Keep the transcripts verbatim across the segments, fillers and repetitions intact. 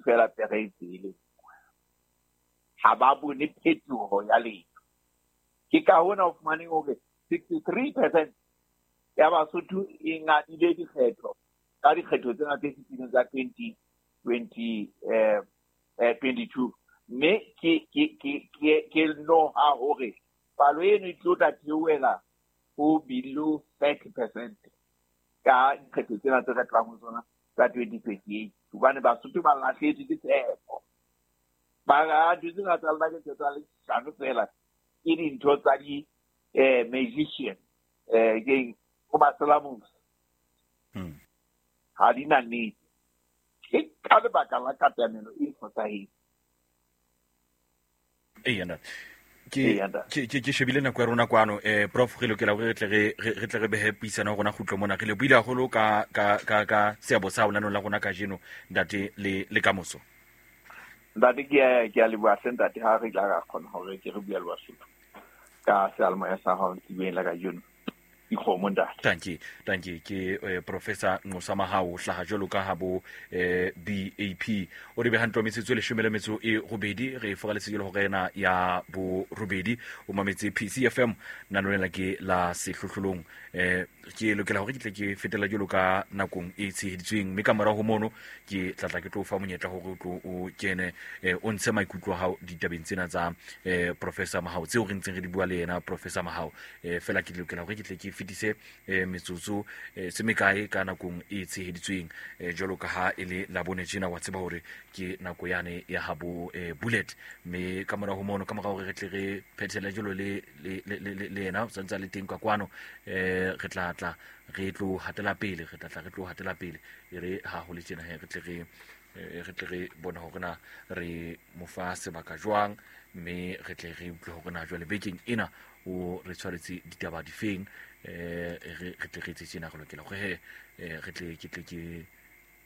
feela pere e tsele. Ha ba bone phetoho ya letho. Ke ka hona o fumaneng hore sixty-three percent ya Basotho e ngadile dikgetho ka dikgetho tsena tse fetileng tsa twenty twenty eh twenty-two. Mme ke ke ke ke ke noha hore palo eno e tlo tla theohela ho below thirty percent ka dikgetho tsena tse re tlang ho tsona tsa twenty twenty-eight. Hobane Basotho ba lahlehetswe ke tshepo. Ba dutse nga tsa lona ke tsa leshano feela, ke dintho tsa di eh magician eh ke go maselamosi. Ha di na nnete. Ke ka lebaka la katamelo e fosahetseng. Ee, ntate. Ke ke ke shebile nako ya rona kwano eh prof re lokela hore re tle re re tle re behe puisano ya rona kgutlo mona. Re le buile haholo ka ka ka ka seabo sa rona la rona kajeno ntate le le kamoso. Ntate ke a ke a leboha hle ntate ha re tla ra kgona hore ke re bua le Basotho ka seyalemoya sa hao tsebeng la kajeno. Dikgomo ntate. Thank you, thank you. Ke eh, Professor Nqosa Mahao hlaha jwalo ka ha bo eh, B A P o re beha ntlo metsotso e leshome le metso e robedi re foraletse jwalo hore ena ya bo robedi o mametse P C F M nano ke la sehlohlolong eh ke lokela hore ke tle ke fetela jwalo ka nakong e tsheheditsweng mme ka morao ho mono ke tla tla ke tlo fa monyetla hore o tlo o kene eh, o ntshe maikutlo a hao ditabeng tsena tsa eh, Professor Mahao tseo re ntseng re di bua le yena Professor Mahao eh, fela ke lokela hore ke tle ke fetise eh, metsotso eh, se mekae ka nakong e tsheheditsweng eh, jwalo ka ha e le labone tjena wa tseba hore ke nako yane ya habo eh, bullet mme ka morao ho mono ka morao hore re tle re phethele jwalo le le le le yena o santse a le teng ka kwano eh re tla tla re tlo hatela pele re tla tla re tlo hatela pele e re ha ho le tjena he re tle re re tle re bona hore na re mo fa sebaka jwang mme re tle re utlwe hore na jwale bekeng ena o re tshwaretse ditaba difeng eh re re tle re etse tjena re lokela hore he re tle ke tle ke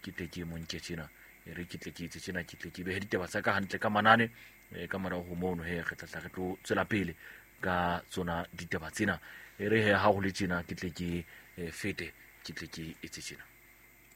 ke tle ke monke tjena re ke tle ke etse tjena ke tle ke behe ditaba tsa ka hantle ka manane ka morao ho mono he re tla tla re tlo tswela pele ka tsona ditaba tsena e re he ha ho le tjena ke tle ke fete ke tle ke etse tjena.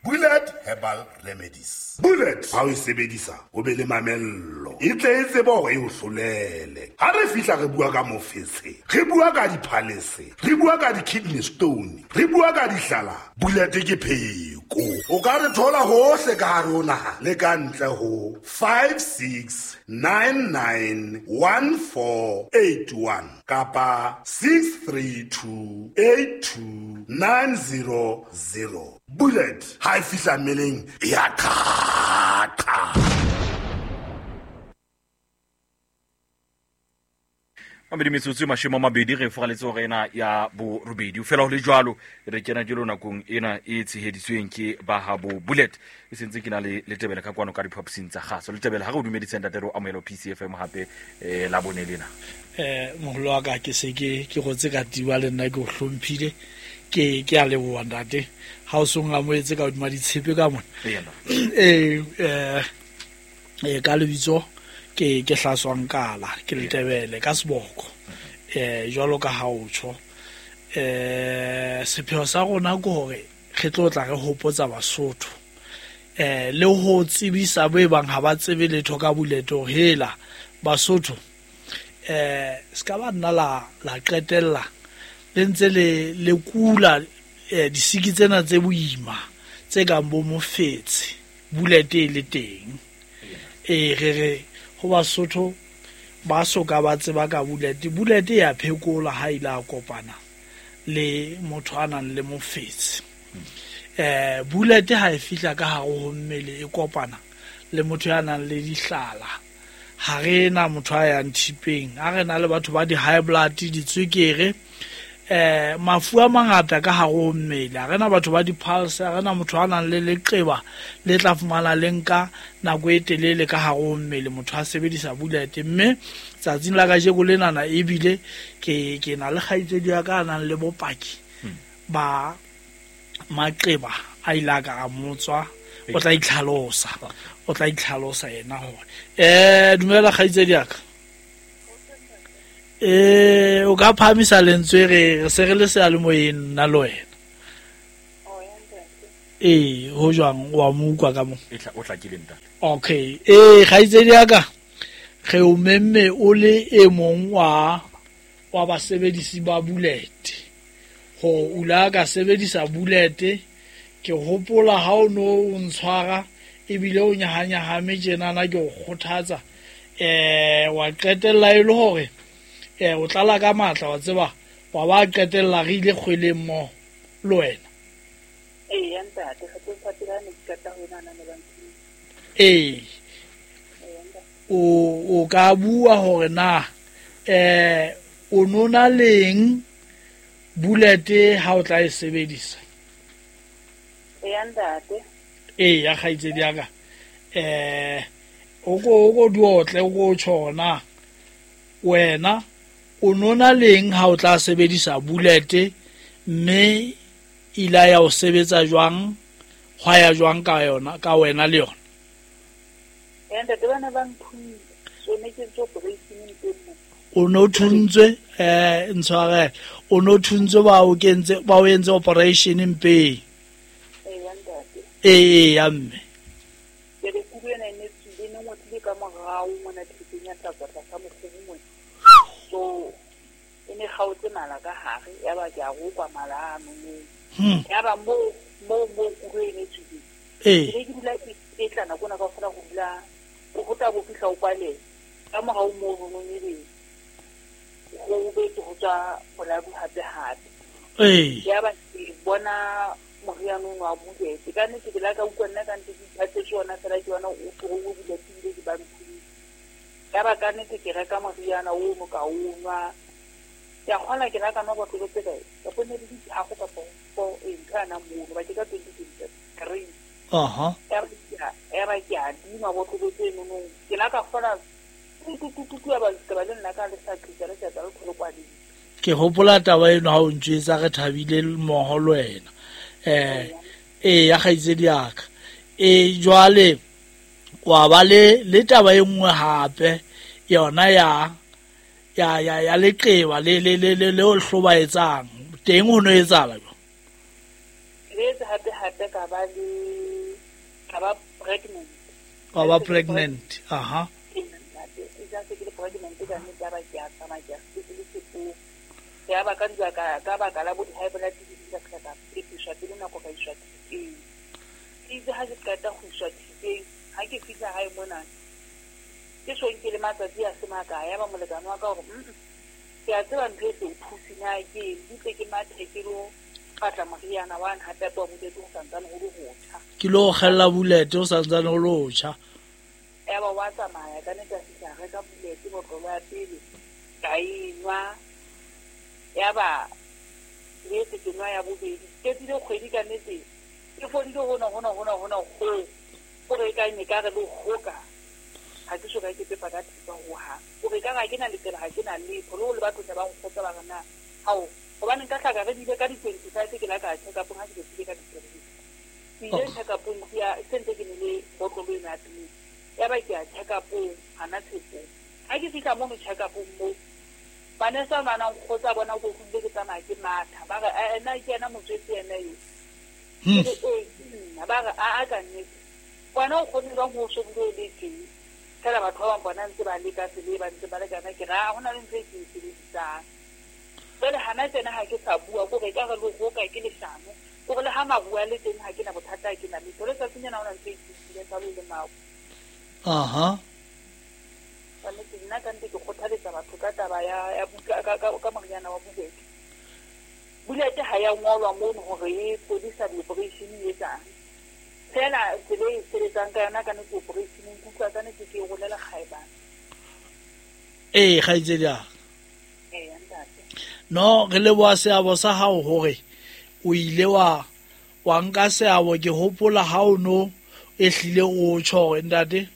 Bullet Herbal Remedies. Bullet ha o e sebedisa o be le mamello. E tle e tsebe hore e o hlolele. Ha re fihla re bua ka mofetshe, re bua ka diphalese, re bua ka di-kidney stone, re bua ka dihlala. Bullet ke pheko. O ka re thola hohle ka hare ho naha le ka ntle ho five six nine nine one four eight one kapa six three two eight two nine zero zero. Bullet ha e fihla mmeleng e a qhaqa. Mamedi metsotso e mashome a mabedi re foraletse hore ena ya borobedi o fela ho le jwalo re kena jwalo nakong ena e tsheheditsweng ke ba habo Bullet e sentse ke na le Letebele ka kwano ka diphaposing tsa kgaso. Letebele ha re o dumedise ntate re o amohela P C F M hape eh la bone lena. Eh moholo wa ka ke se ke ke gotse ka tiwa le nna ke o hlomphile ke ke a leboha ntate ha o song amohetse ka hodima ditshepe ka mona. Eh eh eh ka lebitso ke ke hlaswang kala ke Letebele ka seboko eh jwalo ka ha o tjho eh sepheo sa rona ke hore re tlo tla re hopotsa Basotho eh le ho tsebisa bo e bang ha ba tsebe letho ka Bullet hore hela Basotho eh ska ba nna la la qetella le ntse le le kula eh disiki tsena tse boima tse kang bo mofetshe Bullet e le teng eh re re ho Basotho ba soka ba tseba ka Bullet. Bullet ya phekola ha ile a kopana le motho a nang le mofetshe eh Bullet ha e fihla ka hare ho mmele e kopana le motho ya nang le dihlala. Ha re na motho a yang thipeng, ha re na le batho ba di high blood, ditswekere eh mafu a mangata ka hare ho mmele. Ha re na batho ba di-pulse, ha re na motho a nang le leqeba le tla fumana le nka nako e telele ka hare ho mmele motho a sebedisa Bullet. Mme tsatsing la kajeko lenana ebile ke ke na le kgaitsedi ya ka a nang le bopaki ba maqeba a ile a ka a motswa. O tla itlhalosa, o tla itlhalosa yena hore eh dumela kgaitsedi ya ka. Eh o ka phahamisa lentswe re re se re le seyalemoyeng nna le wena. Ee, ho jwang wa mo utlwa ka mo? E tla o hlakile ntate. Okay. Ee, kgaitsedi ya ka, re o memme o le e mong wa wa basebedisi ba Bullet. Hore o la ka sebedisa Bullet, ke hopola ha o no o ntshwara ebile o nyahanyahame tjenana ke o kgothatsa. Eh, wa qetella e le hore eh o tlala ka matla wa tseba, wa ba qetella re ile kgweleng mmoho le wena. Ee, ntate, re tlo fatela ne ke qeta ho nana le bantsi. Ee. O o ka bua hore na eh o nona leng Bullet ha o tla e sebedisa? Ee, ntate. Ee, ya kgaitsedi ya ka. Eh o ko o ko duotle o ko tjhona. Wena o nona leng ha o tla sebedisa Bullet mme ila ya o sebetsa jwang, hwa ya jwang ka yona, ka wena le yona? Ee, ntate, bana ba nthuntse. So ne ke ntse operation nteng mo. O no thuntswe, eh ntshwarele. O no thuntswe ba o kentse, ba o entse operation mpeng. Ee, ntate. Ee, ya mme. Ke re kudu ena e ne tswile, ne ngotlile ka morao mona thekeng ya tlatswa tlasa mokgobu mona. So e ne kgaotse mala ka hare, ya ba ke a rokwa mala ano moo. Hmm. Ya ba mo mo mo kudu e ne tswile. Ee. Ke ne ke dula ke etla nako ena kaofela ho dula o ho tla bo fihla o kwale. Ka morao moo ho nong ebe ho betse ho tswa boladu hape hape. Ee. Ya ba ke bona moriana ono wa Bullet. Ka nnete ke la ka utlwa nna ka nnete ke iphatletse ona fela ke bona o tlogo o Bullet ebile ke ba nthuse. Ya ba ka nnete ke reka moriana ono ka o nwa. Ke a kgona ke la ka nwa botlolo tse kae? Kapo ne di le tharo kapa four, ee, ntho yana mono, ba ke ka twenty twenty-three. Aha. Ya ba ke a, ya ba ke a dinwa botlolo tse nonong. Ke la ka kgona tu, tu, tu, tu, tu, ya ba ke ba le nna ka le sa qetsa, le sa tsa le thole kwadile. Ke hopola taba eno ha o ntjwetsa re thabile mmoho le wena. Eh, ee, ya kgaitsedi ya ka. Eh, jwale wa ba le le taba e nngwe hape yona ya ya ya ya leqeba le le le le le o hlobaetsang teng ho no etsahala jwang? Ke etse hape hape ka ba le ka ba pregnant. Ka ba pregnant, aha. Ee, ntate, e ja se ke le pregnant ka nnete ya ba ke a tsamaya ke a sepetlele sepong. Ya ba ka ntwa ka, ka baka la bo di-high blood di ka fihla ka pepiswa pele nako ka iswa thupeng. Ke itse ha ke qeta ho iswa thupeng, ha ke fihla hae mona, ke so nke le matsatsi a se makae, ya ba molekane wa ka hore, mm-mm, ke a tseba ntho e se o thuse na ke eng, butle ke mathe ke lo batla moriana wa hape hape wa Bullet ho santsane ho le hotjha. Ke lo kgella Bullet ho santsane ho le hotjha. Ya ba wa tsamaya ka nnete a fihla a reka Bullet botlolo ya pele, ka e nwa. Ya ba ke etse ke nwa ya bobedi. Ke qetile kgwedi ka nnete, ke fodile hona, hona, hona, hona, ho. Hore e ka ne ka re le hoka. Ha ke so ka ke pepa ka thipa hohang. Hore e ka re ha ke na letsela, ha ke na letho. Le ho le batho tla ba nkgotsa ba re na, hao, hobane nka hlaka re bile ka di-twenty-five ke la ka check-up-ong ha ke be ka di-three. Ke ile Oh. check-up-ong ke ya, se ntse ke nele botlolo ena ya pele. Ya ba ke ya check-up-ong, hana tshepong. Ha ke fihla mono check-up-ong moo, manese a nwana nkgotsa bona ko kutlwile ke tsamaya ke matha. Ba re, eh, nna ke yena motswetse yena eo. Hmm. Ke re, ee, ke nna. Ba re, a, a ka nnete. Wena o kgone jwang ho so bule le teng? Fela batho ba bang bona ntse ba leka tsela e ba ntse ba lekana. Ke re, ah, ho na le ntho e ke e sebedisang. Jwale hana tjena ha ke sa bua, ke hore ekare le hoka ke leshano. Ke hore le ha maruo a le teng ha ke na bothata, ha ke na letho. Le tsatsing lena ho na ntho e ke e utlwileng sa bo le maru. Aha. Ka nnete, nna ka nnete ke kgothaletsa batho ka taba ya, ya buka, ka, ka, ka moriana wa Bullet. Bullet ha ya ngolwa mono hore e fodisa di-operation e etsang. Fela tsela e sebetsang ka yona ka nnete operation, ke utlwa ka nnete ke e rolela kgaebane. Ee, kgaitsedi ya ka. Ee, ntate. No, re leboha seabo sa hao hore o ile wa, wa nka seabo. Ke hopola ha o no e hlile o tjho hore ntate,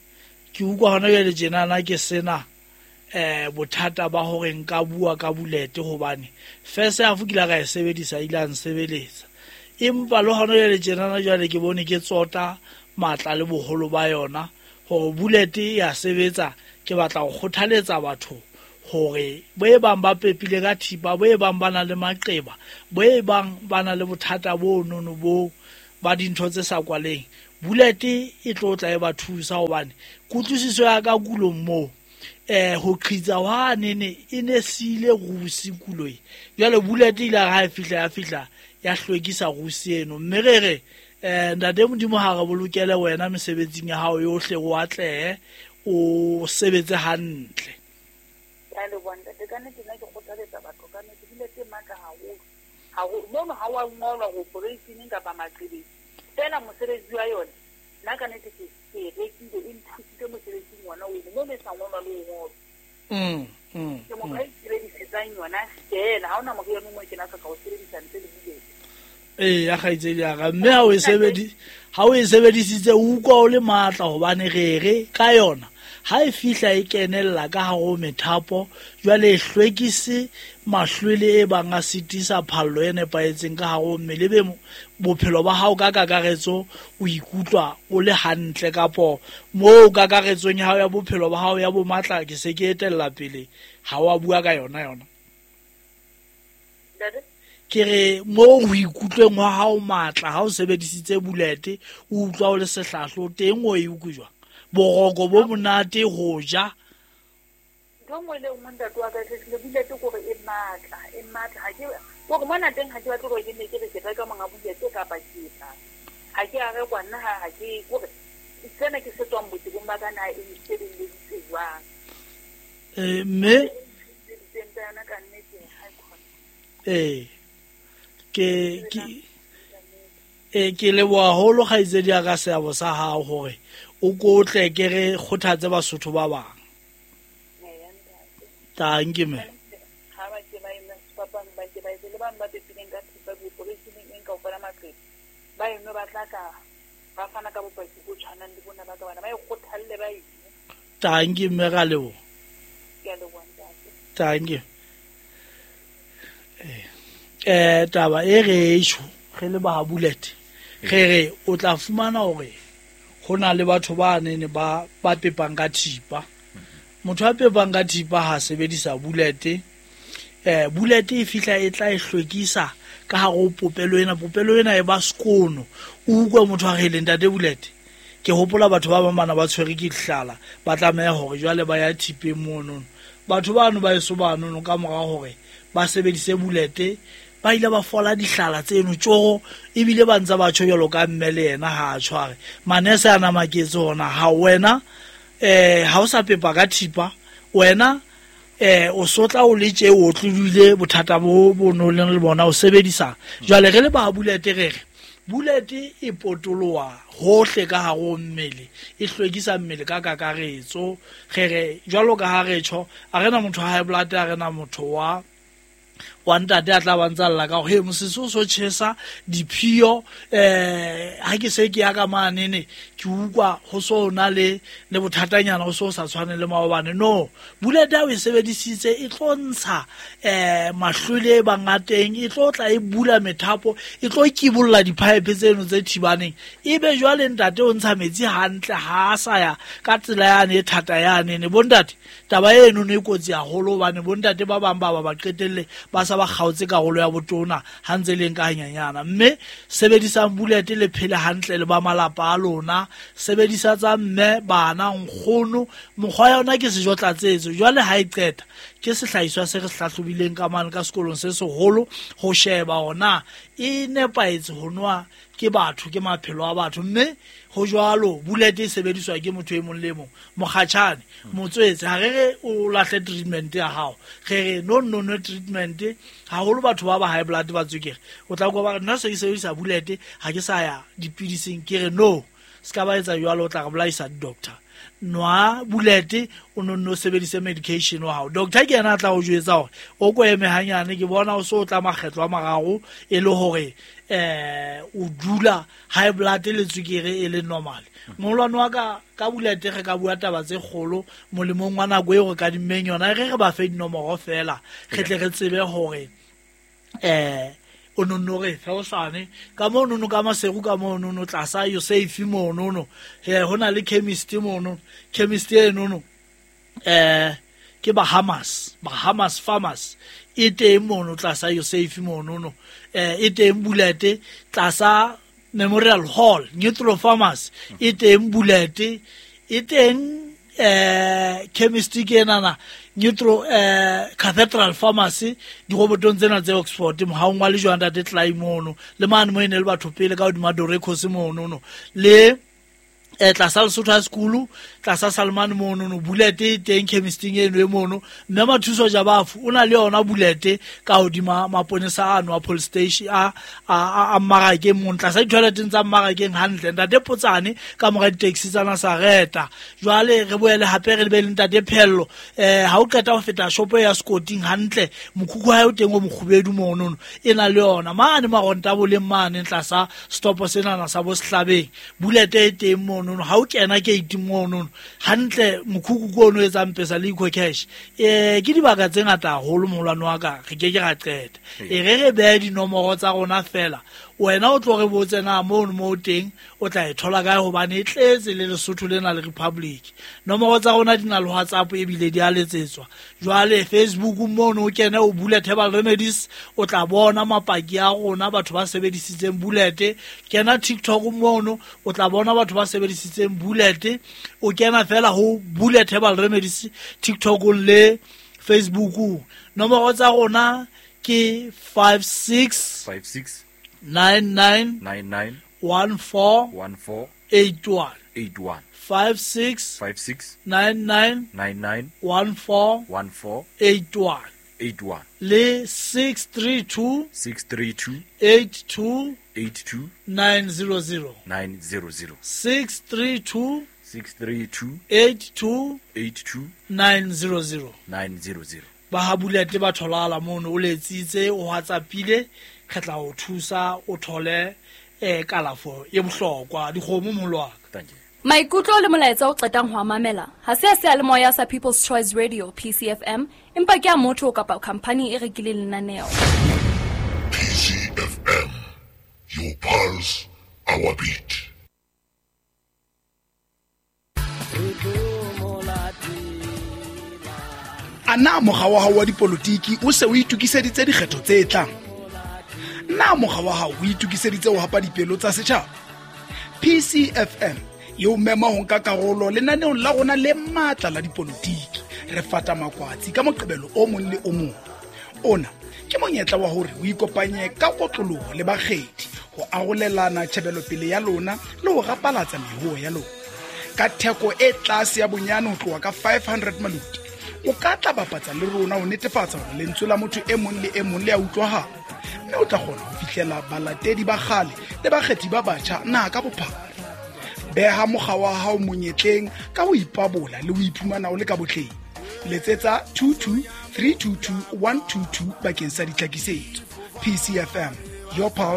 ke utlwa hona jwale tjenana ke sena eh bothata ba hore nka bua ka Bullet hobane first half ke la ka e sebedisa ile a nsebeletsa. Empa le hona jwale tjenana jwale ke bone ke tsota matla le boholo ba yona hore Bullet e ya sebetsa. Ke batla ho kgothaletsa batho hore bo e bang ba pepile ka thipa, bo e bang ba na le maqeba, bo e bang ba na le bothata bo nono bo ba dintho tse sa kwaleng bullet e tlo tla e ba thusa hobane kutlwisiso ya ka kulong moo eh ho qhitsa wa nene e ne sile rusi kuloi jwale bullet ile ha e fihla ya fihla ya hlwekisa rusi eno mme re re eh ntate Modimo ha re bolokele wena mesebetsing ya hao yohle o atlehe o sebetse hantle. Ke a leboha ntate, ka nnete nna ke kgothaletsa batho ka nnete bullet e matla haholo haholo mono ha wa ngolwa ho operation kapa maqebeng fela mosebetsi wa yona nna ka nnete ke ke e rekile e nthusitse mosebetsing ona ono mo e sa ngolwa le ho ngolwa. Mm, mm, ke motho a isebedisetsang yona fela ha hona moriana o mong ke na hloka ho sebedisa ntle le bullet. Ee ya kgaitsedi ya ka mme ha o e sebedi ha o e sebedisitse o utlwa o le matla hobane re re ka yona ha e fihla e kenella ka hare ho methapo jwale e hlwekise mahlwele e bang a sitisa phallo e nepahetseng ka hare ho mmele be bophelo ba hao ka kakaretso o ikutlwa o le hantle kapo moo kakaretsong ya hao ya bophelo ba hao ya bo matla ke se ke etella pele ha wa bua ka yona yona. Ntate ke re moo ho ikutlweng wa hao matla ha o sebedisitse bullet o utlwa o le sehlahlo teng o e utlwe jwang boroko bo monate ho ja ntho nngwe le nngwe ntate wa ka tlile bullet kore e matla e matla ha ke kore mona teng ha ke batle hore ke ne ke re ke reka monga bullet kapa ke etsa ha ke a rekwa nna ha ha ke kore sena ke se tswang botebong ba ka na e nsebeleditse jwang. Eh mme sebedisitseng tsa yona ka nnete ha e khona. Eh ke ke e ke leboha haholo kgaitsedi ya ka seabo sa hao hore o kotle ke re kgothatse Basotho ba bang. Eya ntate. Tanki me. Ha ba ke ba eme sefapano ba ke ba etse le bang ba pepileng ka thipa diopereisheneng eng kaofela maqeba ba eno ba tla ka ba fana ka bopaki bo tshwanang le bona ba ka bana ba e kgothalle ba ene. Tanki mme ra leboha. Ke a leboha ntate. Tanki. Eh eh taba e re esho re le ba bullet re re o tla fumana hore ho na le batho ba nene ba ba pepang ka thipa motho a pepang ka thipa ha sebedisa bullet eh bullet e fihla e tla e hlwekisa ka hare ho popelo ena popelo ena e ba sekono o utlwe motho a re le ntate bullet ke hopola batho ba bang bana ba tshwere ke dihlala ba tlameha hore jwale ba ya thipeng mono batho bano ba eso banono ka mora hore ba sebedise bullet ba ile ba fola dihlala tseno tjoro ebile ba ntse ba tjho jwalo ka mme le yena ha a tshware manese a na maketse hona ha wena eh ha o sa pepa ka thipa wena eh o sotla o le tje o tlodile bothata bo bo no leng le bona o sebedisa jwale re le ba bullet re re bullet e potoloha hohle ka hare ho mmele e hlwekisa mmele ka kakaretso re re jwalo ka ha re tjho a rena motho wa high blood a rena motho wa wa ntate a tla ba ntsa lla ka hore he mosese o so tjhesa diphio eh ha ke se ke ya ka manene ke utlwa ho so na le le bothatanyana ho so sa tshwane le maobane no bullet ha o e sebedisitse e tlo ntsha eh mahlwele e bangateng e tlo tla e bula methapo e tlo kibolla di-pipe tseno tse thibaneng ebe jwale ntate o ntsha metsi hantle ha a sa ya ka tsela yane e thata yane ne bontate taba eno ne e kotsi haholo hobane bontate ba bang ba ba ba qetelle ba sa ba kgaotse karolo ya botona ha ntse leng ka hanyanyana mme sebedisang bullet le phele hantle le ba malapa a lona sebedisa tsa mme bana nkgono mokgwa ya yona ke sejo tlatsetso jwale ha e qeta ke sehlahiswa se re hlahlobileng ka mane ka sekolong se seholo ho sheba hona e nepahetse ho nwa ke batho ke maphelo a batho mme ho jwalo bullet e sebediswa ke motho e mong le mong mokgatjhane motswetse ha re re o lahle treatment ya hao re re no no no treatment haholo batho ba ba high blood ba tswekere o tla kwa ba re nna se ke sebedisa bullet ha ke sa ya dipidising ke re no se ka ba etsa jwalo o tla re bolaisa doctor nwa bullet o no no sebedise medication wa hao doctor ke yena a tla o jwetsa hore o ko eme hanyane ke bona o so o tla makgetlo a mararo e le hore eh o dula high blood le tswekere e le normal molwane wa ka ka bullet re ka bua taba tse kgolo molemong wa nako eo re ka dimmeng yona re re ba fe dinomoro fela re tle re tsebe hore eh o no no re fe osane ka mo no no ka Maseru ka mo no no tlasa yo safe mo no no he hona le chemist mo no chemist e no no eh ke Bahamas Bahamas Farmers e teng mono tlasa yo safe mono no eh e teng bullet tlasa Memorial Hall Nitro Pharmacy e teng bullet e teng eh chemistry ke enana Nitro eh Cathedral Pharmacy dirobotong tsena tse Oxford mohaong wa lejwa ntate Clay mono le mane mo ene le batho pele ka hodima Dorekos mono no le eh tlasa Lesotho High School tlasa Salman mono no bullet e teng chemistry eno e mono mme Mathuso Jabafu o na le yona bullet ka hodima maponesa ano a police station a a a mmarakeng mono tlasa di-toileteng tsa mmarakeng hantle ntate Potsane ka mora di-taxi tsa Nasareta. Jwale re boele hape re be le ntate Phello eh ha o qeta ho feta shopo ya Scotting hantle mokhukhu ha o teng o mokgubedu mono no e na le yona mane maronta boleng mane tlasa stop senana sa bo Sehlabeng bullet e teng mono no ha o kena gate mono hantle mokhukhu ko ono etsang pesa le eco cash eh ke dibaka tse ngata haholo moholwane wa ka re ke ke ra qeta e re re behe dinomoro tsa rona fela wena o tlo re botse na mono mo teng o tla e thola kae hobane e tletse le Lesotho lena le Republic. Nomoro tsa rona di na le WhatsApp ebile di a letsetswa. Jwale Facebook mono o kene o Bullet Herbal Remedies o tla bona mapaki a rona batho ba sebedisitseng bullet. Kena TikTok mono o tla bona batho ba sebedisitseng bullet. O kena fela ho Bullet Herbal Remedies TikTok le Facebook. Nomoro tsa rona ke five six five six nine nine nine nine one four one four eight one eight one five six five six nine nine nine nine one four one four eight one eight one le six three two six three two eight two eight two nine zero zero nine zero zero six three two six three two eight two eight two nine zero zero nine zero zero. Ba ha bullet ba tholala mono o letsitse o WhatsAppile re tla o thusa o thole eh kalafo e bohlokwa dikgomo molwaka. Thank you. Maikutlo le molaetsa o qetang ho mamela ha se a seyalemoya sa People's Choice Radio P C F M empa ke a motho kapa company e rekileng lenaneo. P C F M, your pulse, our beat. Ana mokga wa hao wa dipolotiki o se o itokiseditse dikgetho tse tlang? Na mokga wa hao o itokiseditse ho hapa dipelo tsa setjhaba? P C F M e o mema ho nka karolo lenaneong la rona le matla la dipolotiki. Re fata makwatsi ka Moqebelo o mong le o mong. Ona ke monyetla wa hore o ikopanye ka kotloloho le bakgethi ho arolelana tjhebelopele ya lona le ho rapalatsa mehoho ya lona. Ka theko e tlase ya bonyane ho tloha ka five hundred maluti, o ka tla bapatsa le rona ho netefatsa hore lentswe la motho e mong le e mong le a utlwahala, mme o tla kgona ho fihlela balatedi ba kgale le bakgethi ba batjha naha ka bophara. Beha mokga wa hao monyetleng ka ho ipabola le ho iphumana o le ka botleng. Letsetsa two two three two two one two two bakeng sa ditlhakisetso. P C F M, your pulse,